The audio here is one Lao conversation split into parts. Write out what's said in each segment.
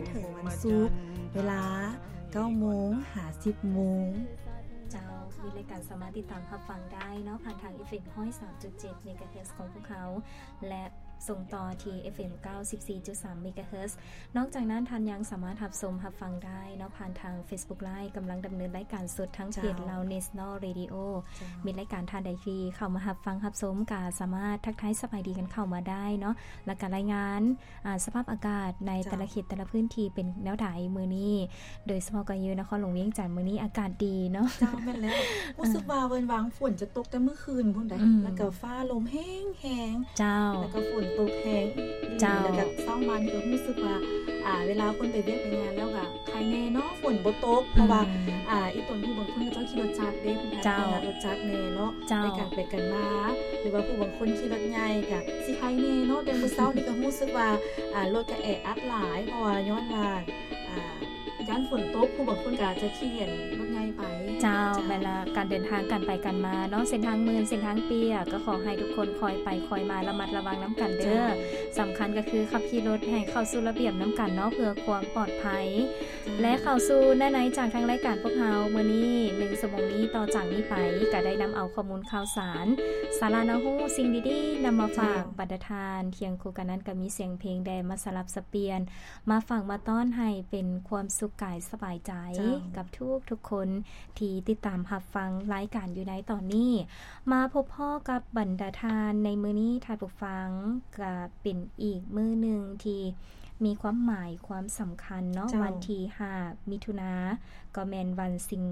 ເຖິງວັນສຸກ ເວລາເກົ້າໂມງຫາສິບໂມງ. ເຈົ້າ ມີລາຍການສາມາດຕິດຕາມຮັບຟັງໄດ້ເນາະ ຜ່ານທາງ ເອັຟເອັມ ຮ້ອຍສາມຈຸດເຈັດ ເມກາເຮີດ ຂອງພວກເຮົາ ແລະ ສົ່ງຕໍ່ທີ່ ເອັຟເອັມ ເກົ້າສິບສີ່ຈຸດສາມ ເມກາເຮີດ. ນອກຈາກນັ້ນ ທ່ານຍັງສາມາດຮັບຊົມຮັບຟັງໄດ້ເນາະ ຜ່ານທາງ Facebook Live ກຳລັງດຳເນີນລາຍການສົດທາງເພຈ ເຈົ້າ ລາວ National Radio. ເຈົ້າ ມີລາຍການ ທ່ານໃດທີ່ເຂົ້າມາຮັບຟັງຮັບຊົມ ກໍສາມາດທັກທາຍສະບາຍດີກັນເຂົ້າມາໄດ້ເນາະ ແລ້ວກໍລາຍງານ ອາ ສະພາບອາກາດໃນ ເຈົ້າ ແຕ່ລະເຂດແຕ່ລະພື້ນທີ່ເປັນແນວໃດມື້ນີ້ ໂດຍສະເພາະກໍຢູ່ນະຄອນຫຼວງວຽງຈັນ ມື້ນີ້ອາກາດດີເນາະ. ເຈົ້າ ແມ່ນແລ້ວ ຮູ້ສຶກວ່າເວີນຫວ່າງຝົນຈະຕົກແຕ່ມື້ຄືນພຸ້ນໃດ໋ ອືມ ແລ້ວກໍຟ້າລົມແຮງໆ. ເຈົ້າ ແລ້ວກໍຝົນຕົກແຮງ ເຈົ້າ ແລ້ວກໍເຊົ້າມານີ້ກໍຮູ້ສຶກວ່າ ອາ ເວລາຄົນໄປວຽກໄປງານແລ້ວກໍ ໄຄແນ່ເນາະ ຝົນບໍ່ຕົກ ເພາະວ່າ ອືມ ອາ ອີ່ຕົນຜູ້ບາງຄົນເຂົາເຈົ້າຂີ່ລົດຈັກເດ້ ເຈົ້າ ເພິ່ນກໍໃຊ້ລົດຈັກແນ່ເນາະ ເຈົ້າ ໃນການໄປກັນມາ ຫຼືວ່າຜູ້ບາງຄົນຂີ່ລົດໃຫຍ່ກໍຊິໄຄແນ່ເນາະ. ແຕ່ມື້ເຊົ້ານີ້ກໍຮູ້ສຶກວ່າ ອາ ລົດກໍແອອັດຫຼາຍ ເພາະວ່າຍ້ອນວ່າ ອາ ຢ້ານຝົນຕົກ ຜູ້ບາງຄົນກໍອາດຈະຂີ່ລົດໃຫຍ່ໄປ. ເຈົ້າ ເຈົ້າ ແມ່ນລະ ການເດີນທາງ ການໄປກັນມາເນາະ ເສັ້ນທາງມື່ນ ເສັ້ນທາງປຽກ ກໍຂໍໃຫ້ທຸກຄົນຄ່ອຍໄປຄ່ອຍມາ ລະມັດລະວັງນຳກັນເດີ. ເຈົ້າ ສຳຄັນກໍຄືຂັບຂີ່ລົດໃຫ້ເຂົ້າສູ່ລະບຽບນຳກັນເນາະ ເພື່ອຄວາມປອດໄພ. ເຈົ້າ ແລະ ເຂົ້າສູ່ໃນໆຈາກທາງລາຍການພວກເຮົາມື້ນີ້ ໜຶ່ງຊົ່ວໂມງນີ້ ຕໍ່ຈາກນີ້ໄປ ກໍໄດ້ນຳເອົາຂໍ້ມູນຂ່າວສານ ສາລະໜ້າຮູ້ ສິ່ງດີໆ ນຳມາຝາກ ເຈົ້າ ບັນດາທ່ານ. ຄຽງຄູ່ກັນນັ້ນກໍມີສຽງເພງແດ່ມາສະຫຼັບສະປ່ຽນ ມາຝາກມາຕ້ອນໃຫ້ເປັນຄວາມສຸກກາຍສະບາຍໃຈ ເຈົ້າ ກັບທຸກໆຄົນທີ່ຕິດຕາມຮັບຟັງລາຍການຢູ່ໃນຕອນນີ້. ມາພົບພໍ້ກັບບັນດາທ່ານໃນມື້ນີ້ ທ່ານຜູ້ຟັງ ກະເປັນອີກມື້ໜຶ່ງທີ່ມີຄວາມໝາຍຄວາມສຳຄັນເນາະ. ເຈົ້າ ວັນທີຫ້າ ມິຖຸນາ ກໍແມ່ນວັນສິ່ງ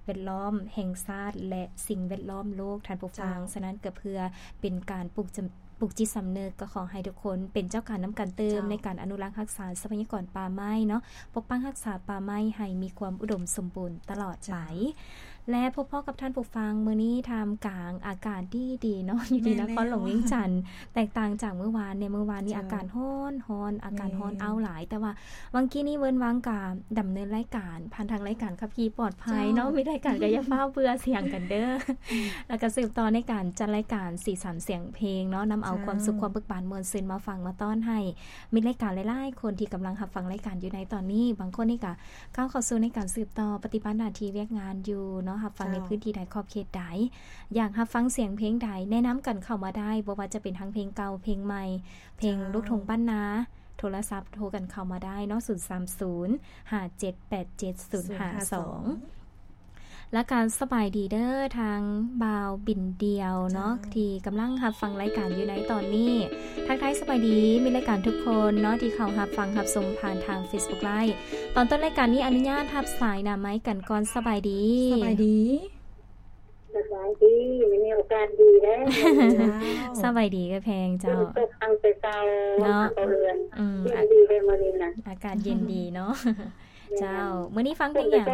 ແວດລ້ອມແຫ່ງຊາດ ແລະ ສິ່ງແວດລ້ອມໂລກ ທ່ານຜູ້ຟັງ. ເຈົ້າ ສະນັ້ນກໍເພື່ອເປັນການປຸກຈະ ປຸກຈິດສຳນຶກ ກໍຂໍໃຫ້ທຸກຄົນເປັນເຈົ້າການນຳກັນຕື່ມ ເຈົ້າ ໃນການອະນຸລັກຮັກສາຊັບພະຍາກອນປ່າໄມ້ເນາະ ປົກປັກຮັກສາປ່າໄມ້ໃຫ້ມີຄວາມອຸດົມສົມບູນຕະຫຼອດໄປ. ເຈົ້າ ແລະ ພົບພໍ້ກັບທ່ານຜູ້ຟັງມື້ນີ້ ທ່າມກາງອາກາດດີໆເນາະ ຢູ່ທີ່ ແມ່ນແລ້ວ ນະຄອນຫຼວງວຽງຈັນ ແຕກຕ່າງຈາກມື້ວານແດ່. ມື້ວານນີ້ ເຈົ້າ ອາກາດຮ້ອນໆ ອາກາດຮ້ອນ ແມ່ນ ອ້າວຫຼາຍ ແຕ່ວ່າຫວ່າງກີ້ນີ້ເວີນຫວ່າງກະດຳເນີນລາຍການ ຜ່ານທາງລາຍການຂັບຂີ່ປອດໄພເນາະ. ເຈົ້າ ມີລາຍການກໍຢ່າຟ້າວເບື່ອສຽງກັນເດີ ແລ້ວກໍສືບຕໍ່ໃນການຈັດລາຍການສີສັນສຽງເພງເນາະ ນຳເອົາ ເຈົ້າ ຄວາມສຸກຄວາມເບີກບານມ່ວນຊື່ນມາຝາກມາຕ້ອນໃຫ້ມິດລາຍການຫຼາຍໆຄົນທີ່ກຳລັງຮັບຟັງລາຍການຢູ່ໃນຕອນນີ້. ບາງຄົນນີ້ກໍກ້າວເຂົ້າສູ່ໃນການສືບຕໍ່ປະຕິບັດໜ້າທີ່ວຽກງານຢູ່ເນາະ ຮັບຟັງໃນ ເຈົ້າ ພື້ນທີ່ໃດຂອບເຂດໃດ ຢາກຮັບຟັງສຽງເພງໃດ ແນະນຳກັນເຂົ້າມາໄດ້ ບໍ່ວ່າຈະເປັນທັງເພງເກົ່າເພງໃໝ່ ເພງ ເຈົ້າ ລູກທົ່ງບ້ານນາ ໂທລະສັບໂທກັນເຂົ້າມາໄດ້ເນາະ ສູນສາມສູນ ຫ້າເຈັດແປດເຈັດ ສູນຫ້າສອງ. ແລ້ວກໍສະບາຍດີເດີ ທາງບ່າວບິນດຽວເນາະ ເຈົ້າ ທີ່ກຳລັງຮັບຟັງລາຍການຢູ່ໃນຕອນນີ້. ທັກທາຍສະບາຍດີມິດລາຍການທຸກຄົນເນາະ ທີ່ເຂົ້າຮັບຟັງຮັບຊົມຜ່ານທາງ Facebook Live. ຕອນຕົ້ນລາຍການນີ້ອະນຸຍາດຮັບສາຍໜ້າໄມກັນກ່ອນ. ສະບາຍດີ. ສະບາຍດີ. ສະບາຍດີ ມື້ນີ້ໂອກາດດີເດ້. ເຈົ້າ ສະບາຍດີເອື້ອຍແພງເຈົ້າ. ຝົນຕົກຕັ້ງແຕ່ເຊົ້າເນາະ ບັງເອີນ. ອືມ ເຢັນດີເດ້ມື້ນີ້ນະ ອາກາດເຢັນດີເນາະ. ເຈົ້າ ມື້ນີ້ຟັງເພງຫຍັງ?